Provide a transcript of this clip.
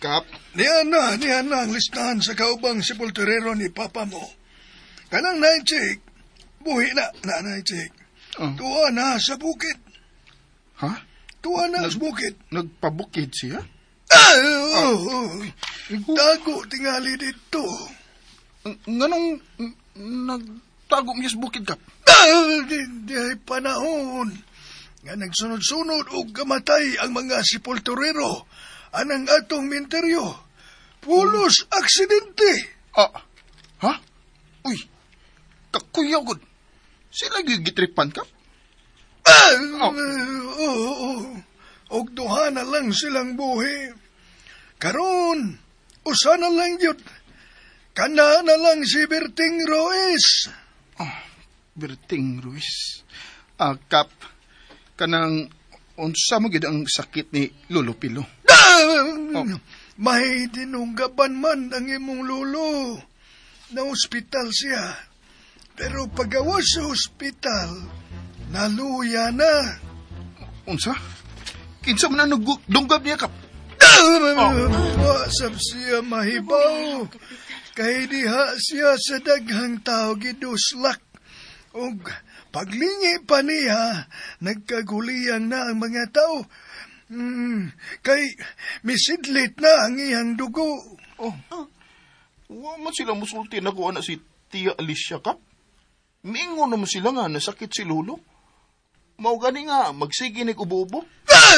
Kap. Niya na ang listahan sa kaubang sepulturero ni papa mo. Kanang night, buhi na, na night. Oh. Tuwa na sa bukid. Ha? Tuwa na sa bukid. Nagpabukid siya? Ah, oh. Tago tingali dito. Nganong nagtago niya sa bukid, Kap? Ah, di ay panahon nga nagsunod-sunod og kamatay ang mga sepulturero anang atong minteryo. Pulos aksidente. Ah, ha? Uy, kakuyaw gud. Sila gitripan, Kap? Ah, Oh. Oo. Og duha na lang silang buhi. Karon, usa na lang yun. Kana na lang si Berting Ruiz. Oh, Berting Ruiz. Ah, Kap, kanang unsa mo gid ang sakit ni Lolo Pilo? Ah, Oh. may dinunggaban man ang imong lolo. Na ospital siya. Pero pagawas sa ospital, naluya na. Unsa? Kinsa man ang nagdunggab niya, Kap? Oh. Wasap siya mahibaw. Kay diha siya sa daghang tao giduslak. Og paglingi pa niya, nagkaguliyang na ang mga tao. Kay misidlit na ang iyang dugo. Oh. Wa man sila musulti na kuha na si Tia Alicia, Kap. Miingon naman sila nga nasakit si Lolo. Mao gani nga magsige ni ubo-ubo. Ah!